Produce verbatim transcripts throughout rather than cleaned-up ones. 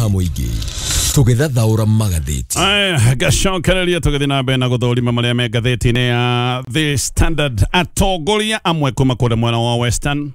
ha mũingĩ tũgĩthathaũra magathĩti. Aya, gacokereria tũgĩthiĩ na mbere na gũthũrima marĩa me ngathĩti-inĩ ya The Standard. Atongoria amwe kuma kũrĩa mwena wa Western,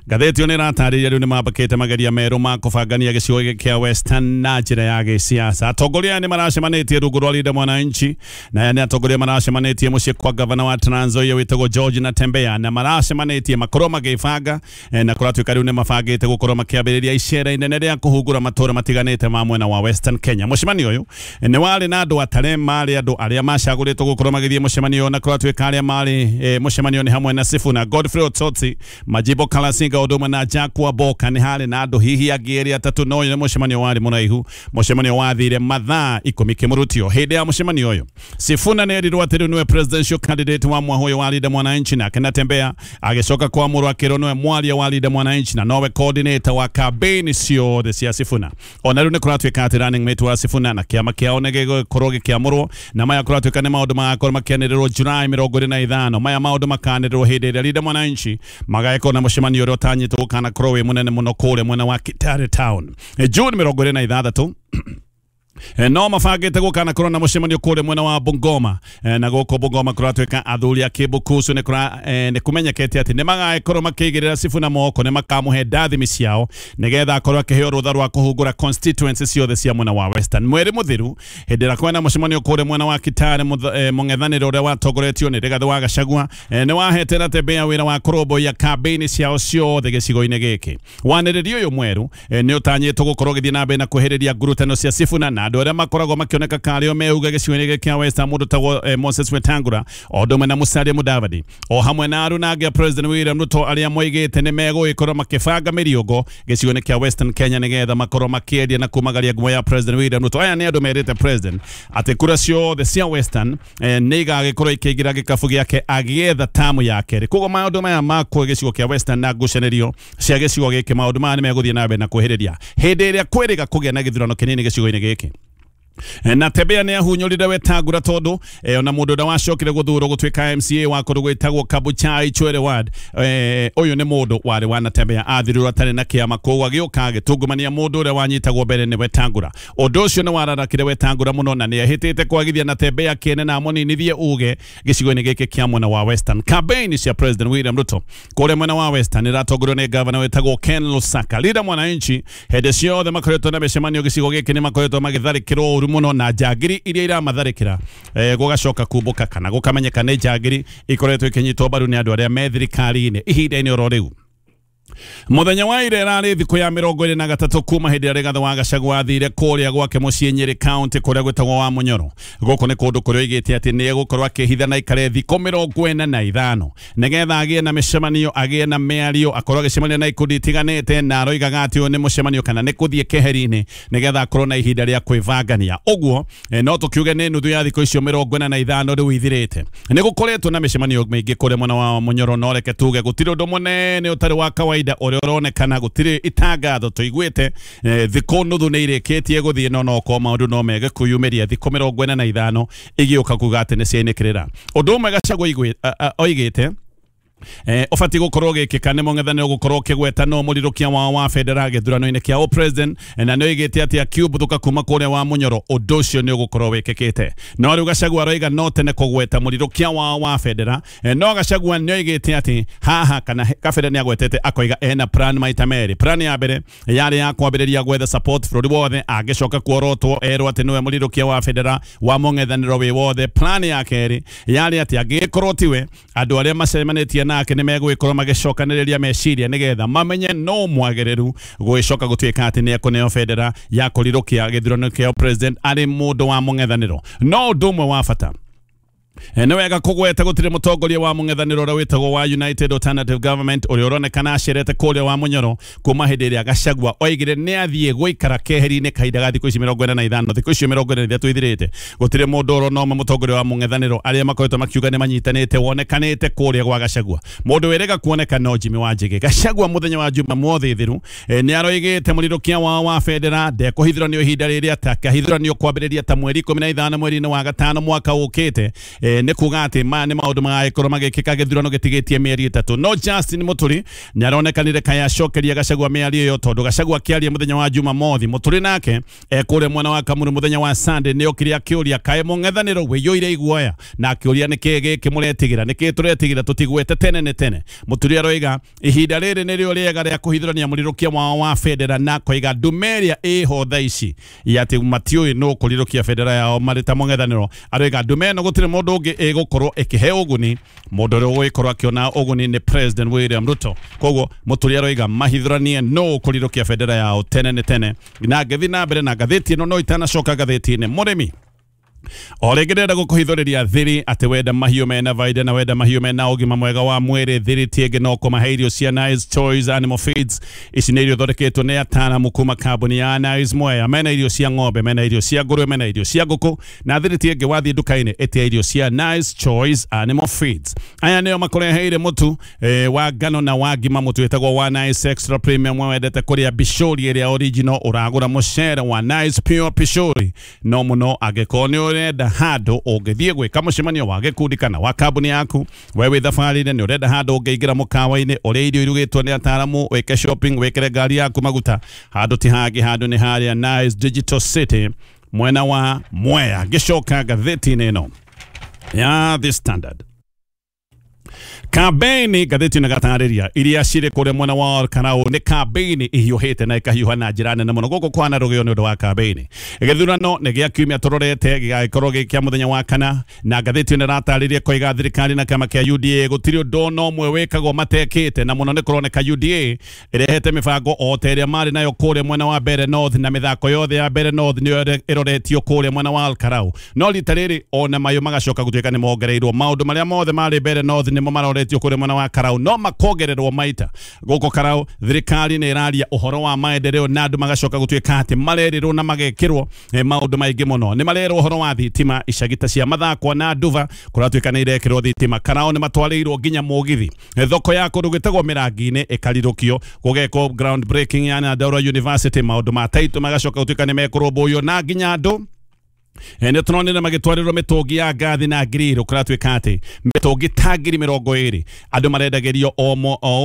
ngathĩti ĩyo nĩ ĩratarĩria rĩu nĩ mambakĩte mageria merũ ma kũbangania gĩcigo gĩkĩ kĩa Western na njĩra ya gĩsiasa. Atongoria aya nĩ maracemanĩtie rungu rwa Linda Mwananchi, na aya nĩ atongoria maracemanĩtie mũciĩ kwa gavana wa Trans Nzoia wĩtagwo George Natembeya, na maracemanĩtie makorwo magĩbanga eh, na kũratuĩka rĩu nĩ mabangĩte gũkorwo makĩambĩrĩria icera inene rĩa kũhungũra matũra matiganĩte ma mwena wa Western Kenya. Mũcemanio ũyũ nĩ warĩ na andũ atare marĩ andũ arĩa macagũrĩtwo gũkorwo magĩthiĩ mũcemanio ũyũ, na kũratuĩka arĩa marĩ eh, mũcemanio nĩ hamwe na Sifuna, Godfrey Otsotsi, Majibo Kalasinga ũndũ ũmwe na Jack Waboka. Nĩ harĩ na andũ hihi angĩ erĩ atatũ, no ũyũ nĩ mũcemanio warĩ mũraihu, mũcemanio wathire mathaa ikũmi kĩmũrutio. Hĩndĩ ya mũcemanio ũyũ Sifuna nĩ erirwo atĩ rĩu nĩwe presidential candidate wa mwaka ũyũ wa Linda Mwananchi, nake Natembeya agĩcoka kwamũrwo akĩrwo nĩwe mwaria wa Linda Mwananchi na nowe coordinator wa campaign ciothe cia Sifuna. Ona rĩu nĩ kũratuĩka atĩ running mate wa Sifuna na kĩama kĩao nĩ gĩgũkorwo gĩkĩamũrwo, na maya kũratuĩka nĩ maũndũ magakorwo makĩanĩrĩrwo July mĩrongo ĩrĩ na ithano. Maya maũndũ makanĩrĩrwo hĩndĩ ĩrĩa Linda Mwananchi magagĩkorwo na mũcemanio ũrĩa ũtanyĩtwo gũkanakorwo wĩ mũnene mũno kũrĩa mwena wa Kitale Town June mĩrongo ĩrĩ na ithathatũ. No mabangĩte gũkanakorwo na mũcemanio kũrĩa mwena wa Bungoma, na gũkũ Bungoma kũratuĩka athuri a Kĩmbukucu nĩ kũra nĩ kũmenyekete atĩ nĩ magagĩkorwo makĩigĩrĩra Sifuna moko, nĩ makamũhe ndathimi ciao nĩgetha akorwo akĩheo rũtha rwa kũhungũra constituency ciothe cia mwena wa Western. Mweri mũthiru hĩndĩ ĩrĩa kwĩna mũcemanio kũrĩa mwena wa Kitale, mũng'ethanĩro ũrĩa watongoretio nĩ Rigathĩ wa Gachagua nĩ wahete Natembeya wĩra wa kũrũmbũiya campaign ciao ciothe gĩcigo-inĩ gĩkĩ. Wanĩrĩri ũyũ mwerũ nĩ ũtanyĩtwo gũkorwo ũgĩthiĩ na mbere na kwĩhĩrĩria ngurutano cia Sifuna na andũ arĩa makoragwo makĩoneka karĩo meuga gĩcigo-inĩ gĩkĩ kĩa Western, mũndũ tagwo eh, Moses Wetangula o ũndũ ũmwe na Musalia Mudavadi o hamwe na aruna angĩ a President William Ruto arĩa moigĩte nĩ megũgĩkorwo makĩbanga mĩriũngo gĩcigo-inĩ kĩa Western Kenya nĩgetha makorwo makĩendia na kumagaria ngumo ya President William Ruto. Aya nĩ andũ merĩte President atĩ kura ciothe cia Western eh, nĩ igagĩkorwo ikĩingĩra gĩkabu gĩake agĩetha tamu ya kerĩ. Koguo maũndũ maya ma gĩcigo kĩa Western na ngucanĩrio cia gĩcigo gĩkĩ, maũndũ maya nĩ megũthiĩ na mbere na kwĩhĩrĩria hĩndĩ ĩrĩa kwĩrĩga kũgĩa na gĩthurano kĩnini gĩcigo-inĩ gĩkĩ. Natembeya nĩ ahunyũrire Wetangula tondũ eh, ona mũndũ ũrĩa wacokire gũthurwo gũtuĩka M C A wa kũndũ gwĩtagwo Kabuchai Chwele Ward, eh, ũyũ nĩ mũndũ warĩ wa Natembeya, athirirwo atarĩ na kĩama, koguo agĩũka agĩtungumania mũndũ ũrĩa wanyitagwo mbere nĩ Wetangula. Ũndũ ũcio nĩ wararakire Wetangula mũno na nĩ ahĩtĩte kwagithia Natembeya kĩene na amũninithie uge gĩcigo-inĩ gĩkĩ kĩa mwena wa Western. Campaign cia President William Ruto kũrĩa mwena wa Western ĩratongorio nĩ gavana wĩtagwo Ken Lusaka. Linda Mwananchi hĩndĩ ciothe makoretwo na mĩcemanio gĩcigo gĩkĩ nĩ makoretwo magĩtharĩkĩrwo ũru mũno na njangiri iria iramatharĩkĩra eh, gũgacoka kumbũka kana gũkamenyeka nĩ njangiri ikoretwo ikinyitwo mbaru nĩ andũ arĩa me thirikari-inĩ ihinda-inĩ oro rĩu. Mũthenya wa ira ĩrarĩ thikũ ya mĩrongo ĩrĩ na gatatũ kuma hĩndĩ ĩrĩa Rigathĩ wa Gachagua athire kũrĩa gwake mũciĩ Nyĩrĩ County kũrĩa gwĩtagwo wa Mũnyoro. Gũkũ nĩ kũndũ kũrĩa oigĩte atĩ nĩ egũkorwo akĩhitha na aikare thikũ mĩrongo ĩna na ithano nĩgetha agĩe na mĩcemanio, agĩe na mĩario, akorwo agĩcemania na ikundi itiganĩte, na aroigaga atĩ ũyũ nĩ mũcemanio kana nĩ kũthiĩ keheri-inĩ nĩgetha akorwo na ihinda rĩa kwĩbangania. Ũguo no tũkiuge nĩ nuthu ya thikũ icio mĩrongo ĩna na ithano rĩu ithirĩte. Nĩ gũkoretwo na mĩcemanio mĩingĩ kũrĩa mwena wa Mũnyoro, no reke tuge gũtirĩ ũndũ mũnene ũtarĩ wa kawaida ũrĩa ũronekana, gũtirĩ itangatho tũiguĩte. Thikũ nuthu nĩ irĩkĩtie gũthiĩ, no no ko maũndũ no mege kwĩyumĩria thikũ mĩrongo ĩna na ithano igĩũka kuga atĩ nĩ ciainĩkĩrĩra. Ũndũ ũmwe Gachagua oigĩte Eh, ũbatiĩ gũkorwo gĩkĩka nĩ mũng'ethanĩro gũkorwo ũkĩgweta no mũrirũkia wao wa bendera gĩthurano-inĩ kĩa president, na nĩ oigĩte atĩ akiumbũthũka kuma kũrĩa wa Mũnyoro ũndũ ũcio nĩ ũgũkorwo wĩkĩkĩte. No rĩu Gachagua aroiga no tene kũgweta mũrirũkia wao wa bendera, no Gachagua nĩ oigĩte atĩ haha kana kabere nĩ agwetete akoiga ena plan maita merĩ. Plan ya mbere yarĩ ya kwambĩrĩria gwetha support bũrũri wothe, angĩcoka kuorotwo erwo atĩ nĩwe mũrirũkia wa bendera wa mũng'ethanĩro wĩ wothe. Plan ya kerĩ yarĩ atĩ angĩgĩkorwo tiwe, andũ arĩa macemanĩtie nake nĩ megũgĩkorwo magĩcokanĩrĩria meciria nĩgetha mamenye no mwagĩrĩru gũgĩcoka gũtuĩka atĩ nĩ ekũneo bendera ya kũrirũkia gĩthurano kĩa president arĩ mũndũ wa mũng'ethanĩro. No ũndũ ũmwe wa bata nĩ wega kũgweta gũtirĩ mũtongoria wa mũng'ethanĩro ũrĩa wĩtagwo wa United Alternative Government ũrĩa ũronekana acerete kũrĩa wa Mũnyoro kuma hĩndĩ ĩrĩa Gachagua oigire nĩ athiĩ gũikara keheri-inĩ kahinda ga thikũ ici mĩrongo ĩna na ithano, thikũ icio mĩrongo ĩna na ithatũ ithirĩte. Gũtirĩ mũndũ ũrona ũmwe mũtongoria wa mũng'ethanĩro arĩa makoretwo makiuga nĩ manyitanĩte wonekanĩte kũrĩa gwa Gachagua. Mũndũ wĩrĩga kuoneka no Jimmy Wanjigi. Gachagua mũthenya wa Jumamothi thiru nĩ aroigĩte mũrirũkia wao wa bendera ndekũhithũranio ihinda rĩrĩa atakahithũranio kwambĩrĩria ta mweri ikũmi na ithano mweri-inĩ wa gatano mwaka ũkĩte. e, nĩ kuga atĩ maya nĩ maũndũ magagĩkorwo magĩkĩka gĩthurano gĩtigĩtie mĩeri ĩtatũ. No Justin Muturi nĩaronekanire kaya acokeria Gachagua mĩario ĩyo, tondũ Gachagua akĩaria mũthenya wa Jumamothi, Muturi nake e, kũrĩa mwena wa Kamuru mũthenya wa Sunday nĩokire akĩũria kaĩ mũng'ethanĩro wĩiyũire iguoya, na akĩũria nĩkĩĩ gĩkĩ mũretigĩra, nĩkĩĩ tũretigĩra tũtigwete tene nĩ tene. Muturi aroiga ihinda rĩrĩ nĩrĩo rĩega rĩa kũhithũrania mũrirũkia wao wa bendera, na koiga ndume ĩrĩa ĩho thaa ici ya atĩ matiũĩ nũ kũrirũkia bendera yao marĩ ta mũng'ethanĩro. Aroiga ndume ĩno gũtirĩ mũndũ ũngĩ ĩgũkorwo ĩkĩhe ũguni, mũndũ ũrĩa ũgũgĩkorwo akĩona ũguni nĩ President William Ruto. Koguo Muturi aroiga mahithũranie nũ kũrirũkia bendera yao tene nĩ tene. Na ngĩthiĩ na mbere na ngathĩti ĩno, no itanacoka ngathĩti-inĩ, mũrĩmi o rĩngĩ ndĩrenda gũkũhithũrĩria thiri atĩ wenda mahiũ mena baida na wenda mahiũ mena ũgima mwega wa mwĩrĩ, thiri ti ĩngĩ no kũmahe irio cia Nice Choice Animal Feeds. Ici nĩ irio ithondeketwo nĩ ataaramu kuma kambuni ya Nice Mwea. Mena irio cia ng'ombe, mena irio cia ngũrwe, mena irio cia ngũkũ, na thiri ti ĩngĩ wathiĩ nduka-inĩ ĩtia irio cia Nice Choice Animal Feeds. Aya nĩo makũreheire mũtu e, wa ngano na wa ngima, mũtu wĩtagwo wa Nice Extra Premium. Wendete kũrĩa bishori ĩrĩa original, ũragũra mũcere wa Nice Pure Pishori. No mũno angĩkorwo nĩ ũrenda handũ ũngĩthiĩ gwĩka mũcemanio wa gĩkundi kana wa kambuni yaku, we wĩ thabarĩ-inĩ nĩ ũrenda handũ ũngĩingĩra mũkawa-inĩ ũrĩa irio irugĩtwo nĩ ataaramu, wĩke shopping, wĩkĩre ngari yaku maguta, handũ ti hangĩ, handũ nĩ harĩa Nice Digital City mwena wa Mwea. Ngĩcoka ngathĩti-inĩ ĩno ya The Standard, kambeini ngathĩti ĩno iria cirĩ kũrĩa mwena wa Karau nĩ kambeini ihiũhĩte na ĩkahiũha na njĩra nene mũno gũkũ kwana rũgĩo nĩ ũndũ wa kambeini. Gĩthurano nĩ gĩa kiumia tũrorete gĩgagĩkorwo gĩ kĩa mũthenya wa kana, na ngathĩti ĩno ĩratarĩria koiga thirikari na kĩama kĩa U D A gũtirĩ ũndũ ona ũmwe wĩkagwo matekĩte, na mũno nĩ kũroneka U D A ĩrehete mĩbango o ta ĩrĩa marĩ nayo kũrĩa mwena wa Mbeere North, na mĩthako yothe ya Mbeere North nĩyo ĩroretio kũrĩa mwena wa Karau. No rita rĩrĩ ona mayo magacoka gũtuĩka nĩ mongereirwo maũndũ marĩa mothe marĩ Mbeere North nĩmo maroretio kũrĩa mwena wa Karau, no makongererwo maita gũkũ Karau. Thirikari nĩ ĩraria ũhoro wa maendeleo na andũ magacoka gũtuĩka atĩ marerĩrwo na magekĩrwo eh, maũndũ maingĩ mũno. Nĩ marerwo ũhoro wa thitima icagi ta cia Mathakwa na Nduva kũratuĩka nĩ irekĩrwo thitima. Karau nĩ matwarĩirwo nginya mũgithi. Thoko ya kũndũ gwĩtagwo Mĩrangi-inĩ ĩkarirũkio, gũgekwo ground breaking ya Nyandarua University, maũndũ ma taitũ magacoka gũtuĩka nĩ mekũrũmbũiyo, na nginya andũ nĩ tũronire magĩtwarĩrwo mĩtũngi ya ngathi na ngiriro kũratuĩka atĩ mĩtũngi ta ngiri mĩrongo ĩrĩ andũ marendagĩrio o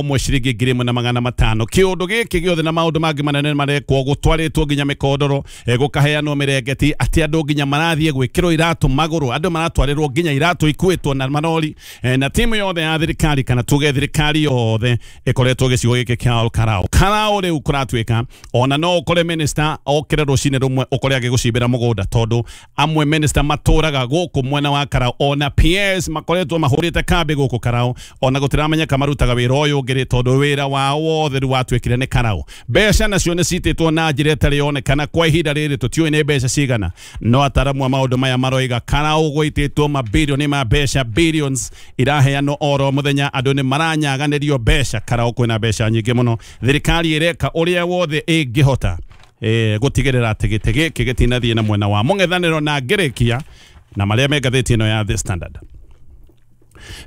ũmwe ciringi ngiri ĩmwe na magana matano. Kĩũndũ gĩkĩ gĩothe na maũndũ mangĩ manene marekwo, gũtwarĩtwo nginya mĩkondoro, gũkaheanwo mĩrengeti, atĩ andũ nginya marathiĩ gwĩkĩrwo iratũ magũrũ, andũ maratwarĩrwo nginya iratũ ikuĩtwo na marori, na timu yothe ya thirikari kana tuge thirikari yothe ĩkoretwo gĩcigo gĩkĩ kĩa Karau. Karau rĩu kũratuĩka ona no ũkore minister okĩre rũcinĩ rũmwe ũkore agĩgũcimbĩra mũgũnda, tondũ amwe minister matũraga gũkũ mwena wa Karau, ona P S makoretwo mahũrĩte kambi gũkũ Karau, ona gũtiramenyeka marutaga wĩra ũyũ ũngĩ tondũ wĩra wao wothe rĩu watuĩkire nĩ Karau. Mbeca nacio nĩ citĩtwo na njĩra ĩtarĩ yonekana kwa ihinda rĩrĩ, tũtiũĩ nĩ mbeca cigana, no ataramu a maũndũ maya maroiga Karau gũitĩtwo mabirioni ma mbeca, billions iraheanwo oro mũthenya, andũ nĩ maranyaganĩrio mbeca. Karau kwĩna mbeca nyingĩ mũno, thirikari ĩreka ũrĩa wothe ĩngĩhota eh gũtigĩrĩra atĩ gĩtĩ gĩkĩ gĩtinathiĩ na mwena wa mũng'ethanĩro. Na ngĩrĩkia na marĩa me ngathĩti ĩno ya The Standard,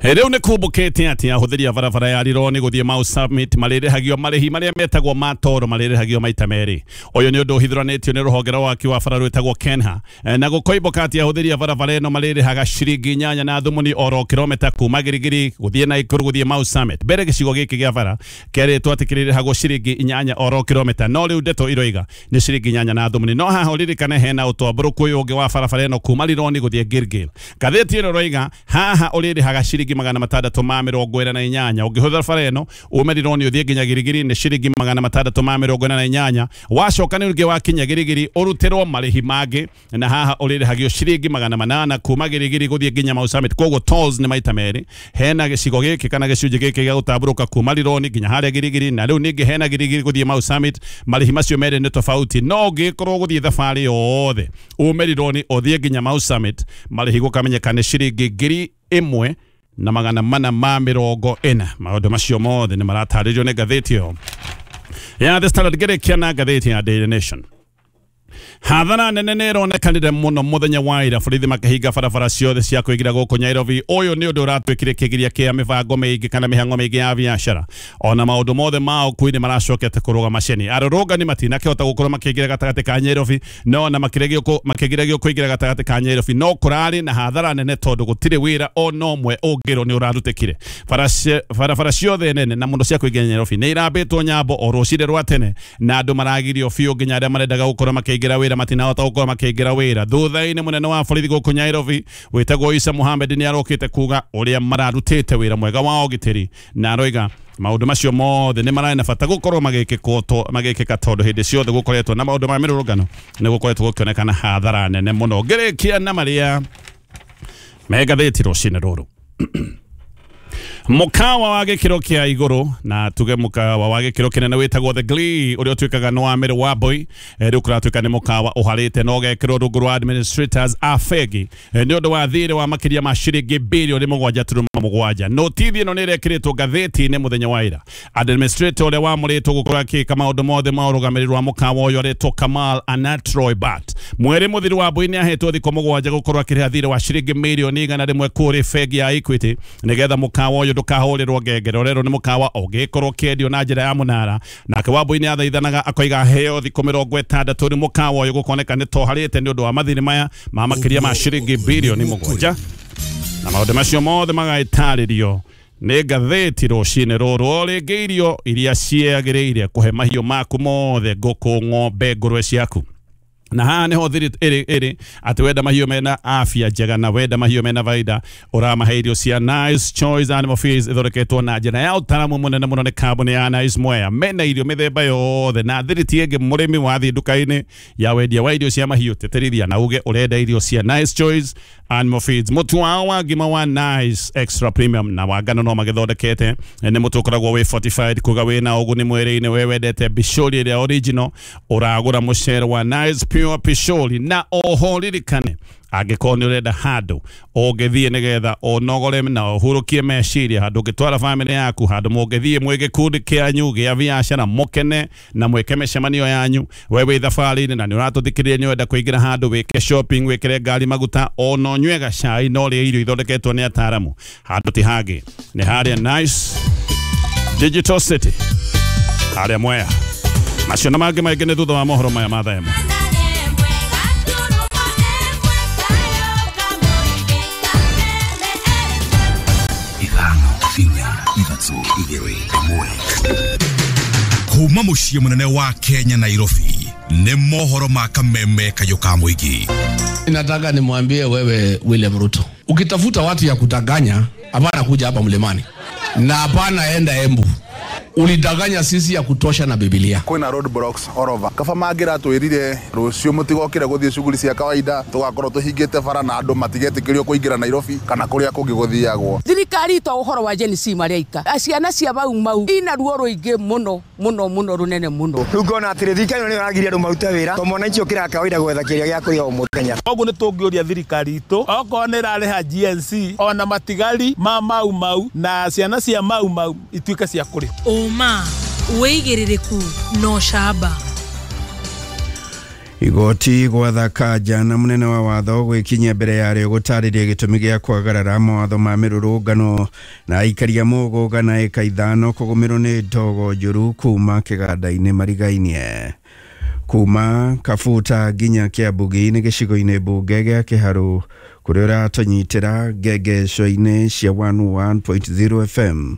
rĩu nĩ kumbũkĩte atĩ ahũthĩri a barabara ya Rironi gũthiĩ Mau Summit marĩrĩhagio marĩhi marĩa metagwo ma toro marĩrĩhagio maita merĩ. Ũyũ nĩ ũndũ ũhithũranĩtio nĩ rũhonge rwa waki wa bara rwĩtagwo Kenha, na gũkoimbũka atĩ ahũthĩri a barabara ĩno marĩrĩhaga ciringi inyanya na thumuni oro kilomita kuma Girigiri gũthiĩ Naikuru gũthiĩ Mau Summit. Mbere gĩcigo gĩkĩ gĩa bara kĩerĩtwo atĩ kĩrĩrĩhagwo ciringi inyanya oro kilomita, no rĩu ndeto iroiga nĩ ciringi inyanya na thumuni. No haha ũririkane hena ũtambũrũku ũyũ ũngĩ wa barabara ĩno kuma Rironi gũthiĩ Gilgil. Ngathĩti ĩno ĩroiga haha ũrĩrĩhaga ciringi magana matandatũ ma mĩrongo ĩna na inyanya. Ũngĩhũthĩra bara ĩno ume Rironi ũthiĩ nginya Girigiri nĩ ciringi magana matandatũ ma mĩrongo ĩna na inyanya, wacoka nĩ ũngĩ wakinya Girigiri ũrutĩrwo marĩhi mangĩ, na haha ũrĩrĩhagio ciringi magana manana kuma Girigiri gũthiĩ nginya Mau Summit. Koguo tolls nĩ maita merĩ. Hena gĩcigo gĩkĩ kana gĩcunjĩ gĩkĩ gĩa gũtambũrũka kuma Rironi nginya harĩa Girigiri, na rĩu ningĩ hena Girigiri gũthiĩ Mau Summit. Marĩhi macio merĩ nĩ tofauti, no ũngĩkorwo gũthiĩ thabarĩ yothe ume Rironi ũthiĩ nginya Mau Summit, marĩhi gũkamenyeka nĩ ciringi ngiri ĩmwe na magana mana ma mĩrongo ĩna. Maũndũ macio mothe nĩ maratarĩrio nĩ ngathĩti ĩyo ya The Standard. Ngĩrĩkia na ngathĩti ya Daily Nation, Hathara nene nĩ ĩronekanire mũno mũthenya wa ira borithi makĩhinga barabara ciothe cia kũingĩra gũkũ Nairobi. Ũyũ nĩ ũndũ ũratuĩkire kĩgiria kĩa mĩbango mĩingĩ kana mĩhang'o mĩingĩ ya biacara, ona maũndũ mothe ma ũkui nĩ maracokete kũrũgama ceni. Arũrũngani matinakĩhota gũkorwo makĩingĩra gatagatĩ ka Nairobi, no na makĩregio makĩgiragio kũingĩra gatagatĩ ka Nairobi, no kũrarĩ na hathara nene tondũ gũtirĩ wĩra ona ũmwe ũngĩrwo nĩ ũrarutĩkire. Barabara ciothe nene na mũno cia kũingĩra Nairobi nĩ irambĩtwo nyambo o rũcinĩ rwa tene, na andũ maragirio biũ nginya arĩa marendaga gũkorwo makĩingĩra wĩra matinahota gũkorwo makĩingĩra wĩra. Thutha-inĩ mũnene wa borithi gũkũ Nairobi wĩtagwo Isa Mohamed nĩ arokĩte kuga ũrĩa mararutĩte wĩra mwega wa ũgitĩri, na aroiga maũndũ macio mothe nĩ mararĩ na bata gũkorwo magĩkĩka tondũ hĩndĩ ciothe gũkoretwo na maũndũ ma mĩrũrũngano nĩ gũkoretwo gũkĩonekana hathara nene mũno. Ngĩrĩkia na marĩa me ngathĩti rũcinĩ rũrũ. Mukawa wa gĩkĩro kĩa igũrũ na tuge mukawa wa gĩkĩro kĩnene wĩtagwo The Glee ũrĩa ũtuĩkaga nĩ wa Mary Wambui, rĩu kũratuĩka nĩ mukawa ũharĩte na ũgekĩrwo rungu rwa administrators a bengi nĩ ũndũ wa thirĩ wa makĩria ma ciringi birioni mũgwanja turuma mũgwanja. Notithi ĩno nĩ ĩrekĩrĩtwo ngathĩti-inĩ mũthenya wa ira. Administrator ũrĩa wamũrĩtwo gũkorwo akĩka maũndũ mothe ma ũrũgamĩrĩri wa mukawa ũyũ aretwo Kamal Anatroy Bat. Mweri mũthiru Wambui nĩ ahetwo thikũ mũgwanja gũkorwo akĩrĩha thirĩ wa ciringi mirioni igana rĩmwe kũrĩ bengi ya Equity nĩgetha mukawa ũyũ ndũkahũrĩrwo ngengere. Ũrerwo nĩ mukawa ũngĩkorwo ũkĩendio na njĩra ya mũnara. Nake Wambui nĩ athaithanaga akoiga heo thikũ mĩrongo ĩtandatũ nĩ mukawa ũyũ gũkoneka nĩ toharĩte nĩ ũndũ wa mathirĩ maya ma makĩria ma ciringi birioni mũgwanja, na maũndũ macio mothe magagĩtarĩrio nĩ ngathĩti rũcinĩ rũrũ. O rĩngĩ irio iria ciagĩrĩire kũhe mahiũ maku mothe, ngũkũ, ng'ombe, ngũrwe ciaku, na haha nĩho thiri ĩrĩ ĩrĩ atĩ wenda mahiũ mena afya njega na wenda mahiũ mena baida ũramahe irio cia Nice Choice Animal Feeds ithondeketwo na njĩra ya ũtaramu mũnene mũno nĩ kambuni ya Nice Mwea. Mena irio mĩthemba yothe na thiri ti ĩngĩ. Mũrĩmi wathiĩ nduka-inĩ ya wendia wa irio cia mahiũ tĩtĩrithia na uge ũrenda irio cia Nice Choice Animal Feeds. Mũtu wao wa ngima wa Nice Extra Premium na wa ngano no magĩthondekete nĩ mũtu ũkoragwo wĩ fortified kuga wĩna ũguni mwĩrĩ-inĩ. We wendete bishori ĩrĩa original ũragũra mũcere wa Nice Pure Pishori. Na oho ririkane angĩkorwo nĩ ũrenda handũ ũngĩthiĩ nĩgetha ũnogore na ũhurũkie meciria, handũ ũngĩtwara bamĩrĩ yaku, handũ mũngĩthiĩ mwĩ gĩkundi kĩanyu gĩa biacara mũkene na mwĩke mĩcemanio yanyu, we wĩ thabarĩ-inĩ na nĩ ũratũthikĩrĩria nĩ ũrenda kũingĩra handũ wĩke shopping, wĩkĩre ngari maguta, ona ũnyue gacai na ũrĩe irio ithondeketwo nĩ ataaramu, handũ ti hangĩ nĩ harĩa Nice Digital City harĩa Mwea. Macio na mangĩ maingĩ nĩ thutha wa mohoro maya ma thaa ĩmwe. Kuma muciĩ mũnene wa Kenya Nairobi nĩ mohoro ma kameme kayũ ka mũingĩ. Nataka nimwambie wewe William Ruto, ukitafuta watu ya kutanganya hapana kuja hapa mlimani na hapana enda Embu. Ulidanganya sisi ya kutosha na Biblia. Kwina road blocks all over. Kaba mangira twirire rucio mutigokire guthie shughuli cia kawaida tugakorwo tuhingite bara na andu matigetikĩrio kuingira Nairobi kana kuria kungi guthiagwo. Thirikari to uhoro wa Gen Z mareika. Ciana cia Mau Mau ina ruo ruingi muno muno muno runene muno. Riu ngona atiri thirikari ni iragiria andu marute wira to mwananchi ukira kawaida gwetha kiria gia kuria o muthenya. Koguo ni tungiuria thirikari itu okorwo ni irariha G N C ona matigari ma Mau Mau na ciana cia Mau Mau ituike cia kuri. Uma wĩigĩrĩrĩku no camba. Igoti gwatha Kanja na munene wa watho gwikinyia mbere yarĩo gũtarĩria gĩtũmi gĩa kwagarara mawatho ma mĩrũrũngano na aikaria mũgũnga na ĩka ithano kũgũmĩrwo nĩ ndogo njũru kuma kĩganda-inĩ marigainie. Kuma Kabuta nginya Kĩambugi-inĩ gĩcigo-inĩ mbunge gĩa Kĩharũ kũrĩa ũratũnyitĩra ngengeco-inĩ cia one one point zero F M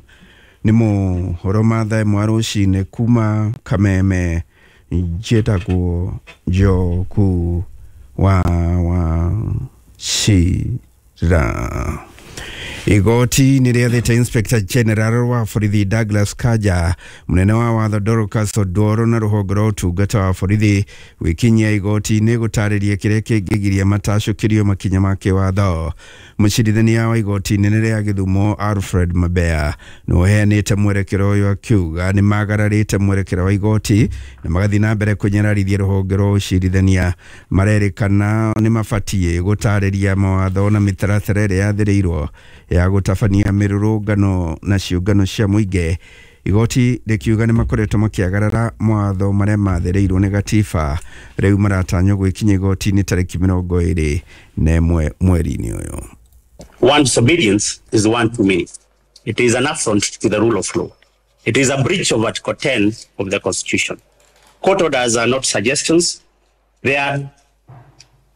nĩ mohoro ma thaa ĩmwe rũcinĩ kuma Kameme. Njĩtagwo Njoku wa Wachira. Igoti nĩ rĩathĩte Inspector General wa borithi Douglas Kanja, munene wa watho Dorcas Odworo na rũhonge rwa ũtungata wa borithi gwĩkinyia igoti-inĩ gũtarĩria kĩrĩa kĩngĩgiria matacũkĩrio makinya ma kĩwatho. Mũcirithania wa igoti inene rĩa Gĩthumo Alfred Mabea nĩ ũheanĩte mwerekero ũyũ akiuga nĩ magararĩte mwerekero wa igoti na magathiĩ na mbere kũnyararithia rũhonge rwa ũcirithania. Marerĩkana nĩ mabatiĩ gũtarĩria mawatho na mĩtaratara ĩrĩa yathĩrĩirwo ya gũtabania mĩrũrũngano na ciũngano cia mũingĩ Igoti rĩkiuga nĩ makoretwo makĩagarara mawatho marĩa mathereirwo nĩ gatiba. Rĩu maratanywo gwĩkinya igoti-inĩ tarĩki mĩrongo ĩrĩ na ĩmwe mweri-inĩ ũyũ. One disobedience is one too many. It is an affront to the rule of law. It is a breach of Article ten of the Constitution. Court orders are not suggestions. They are,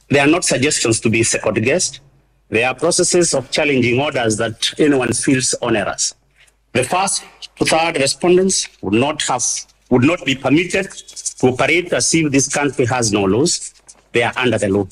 they are not suggestions to be second-guessed. They are processes of challenging orders that anyone feels onerous. The first to third respondents would not have, would not be permitted to operate as if this country has no laws. They are under the law.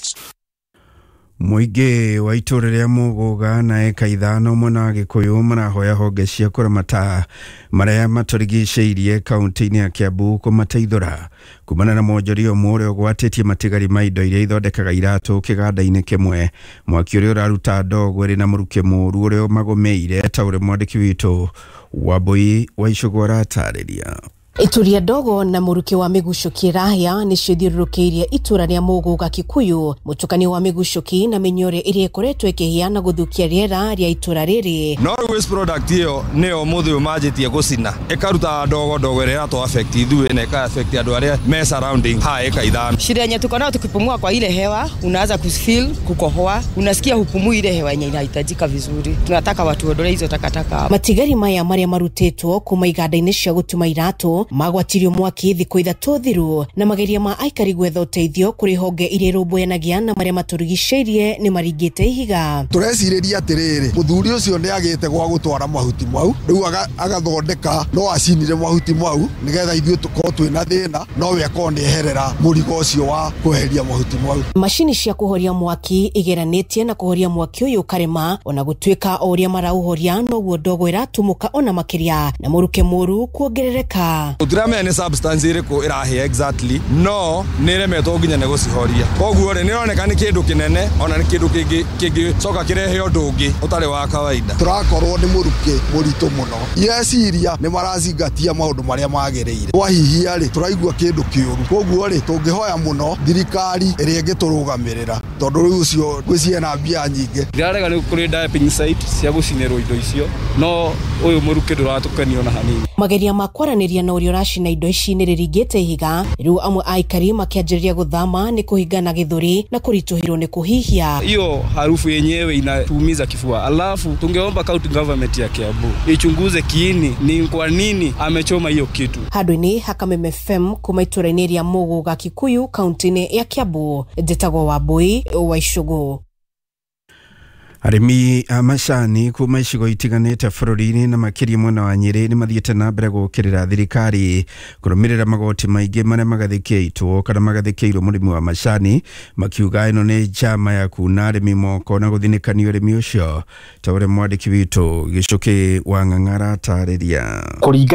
Mũingĩ wa itũũra rĩa Mũgũga na eka ithano mwena wa Gĩkũyũ marahoya honge cia kũramata marĩa matũrigicĩirie kaunti-inĩ ya Kiambu kũmateithũra kumana na mwonjoria ũmwe ũrĩa ũgwatĩtie matigari ma indo iria ithondekaga iratũ kĩganda-inĩ kĩmwe. Mwaki ũrĩa ũraruta ndogo ĩrĩ na mũrukĩ mũũru ũrĩa ũmagũmĩire ta ũrĩa mwandĩki witũ Wambui wa Icũgũ aratarĩria. Ituria ndogo na mũrukĩ wa mĩgucũki ĩrahĩa nĩcio ithiũrũrũkĩirie itũra rĩa Mũgũga Kikuyu. Mũtukanio wa mĩgucũki na mĩnyore ĩrĩa ĩkoretwo ĩkĩhĩa na gũthũkia rĩera rĩa itũra rĩrĩ. No waste product ĩyo nĩyo mũthĩ ũyũ manjĩtie gũcina ĩkaruta ndogo ndogo ĩrĩa ĩratũ affect ithuĩ na ĩka affect andũ arĩa me surrounding ha eka ithano. Shida yenye tuko nayo, tukipumua kwa ile hewa unaanza kufeel kukohoa, unasikia hupumui ile hewa yenye inahitajika vizuri. Tunataka watu waondoe hizo takataka. Matigari maya marĩa marutĩtwo kuma iganda-inĩ cia gũtuma iratũ magwatirio mwaki thikũ ithatũ thiru na mageria ma aikari gwetha ũteithio kũrĩ honge iria irũmbũyanagia na marĩa matũrigicĩirie nĩ maringĩte ihiga. Tũrecirĩria atĩrĩrĩ, mũthuri ũcio nĩ agĩte gwa gũtwara mahuti mau, rĩu agathondeka no acinire mahuti mau nĩgetha ithuĩ tũkorwo twĩna thĩna, no we akorwo nĩ eherera mũrigo ũcio wa kweheria mahuti mau. Macini cia kũhoria mwaki igeranĩtie na kũhoria mwaki ũyũ ũkarema, ona gũtuĩka o ũrĩa maraũhoria noguo ndogo ĩratumũka ona makĩria na mũrukĩ mũru kuongerereka. Tũtiramenya nĩ substance ĩrĩkũ ĩrahĩa exactly, no nĩ ĩremetwo nginya nĩ gũcihoria. Koguo rĩ, nĩ ĩroneka nĩ kĩndũ kĩnene ona nĩ kĩndũ kĩngĩ kĩngĩcoka kĩrehe ũndũ ũngĩ ũtarĩ wa kawaida. Tũrakorwo nĩ mũrukĩ mũritũ mũno. Ireciria nĩ marazingatia maũndũ marĩa magĩrĩire. Twahihia rĩ, tũraigua kĩndũ kĩũru. Koguo rĩ, tũngĩhoya mũno thirikari ĩrĩa ĩngĩtũrũgamĩrĩra, tondũ rĩu ũcio ngwĩciria na mbia nyingĩ. Ndirarega nĩ kũrĩ dumping site cia gũcinĩrwo indo icio, no ũyũ mũrukĩ ndũratũkenio na hanini. Mageria ma kwaranĩria na ũrĩa ũracina indo ici nĩ rĩringĩte ihiga. Rĩu amwe a aikari makĩanjĩrĩria gũthama nĩ kũhingana gĩthũri na kũritũhĩrwo nĩ kũhihia. Hiyo harufu yenyewe inatuumiza kifua. Alafu tungeomba county government ya Kiambu ichunguze kiini ni kwa nini amechoma hiyo kitu. Handũ-inĩ ha Kameme F M kuma itũra-inĩ rĩa Mũgũga Kikuyu kaunti-inĩ ya Kiambu, njĩtagwo Wambui wa Icũgũ. Arĩmi a macani kuma icigo itiganĩte bũrũri-inĩ na makĩria mwena wa Nyĩrĩ nĩ mathiĩte na mbere gũkĩrĩra thirikari kũrũmĩrĩra magoti maingĩ marĩa magathĩkĩtwo kana magathĩkĩirwo mũrĩmi wa macani, makiuga ĩno nĩ njama ya kuna arĩmi moko na gũthinĩkania ũrĩmi ũcio, ta ũrĩa mwandĩki witũ Gĩcũkĩ wa Ng'ang'a aratarĩria.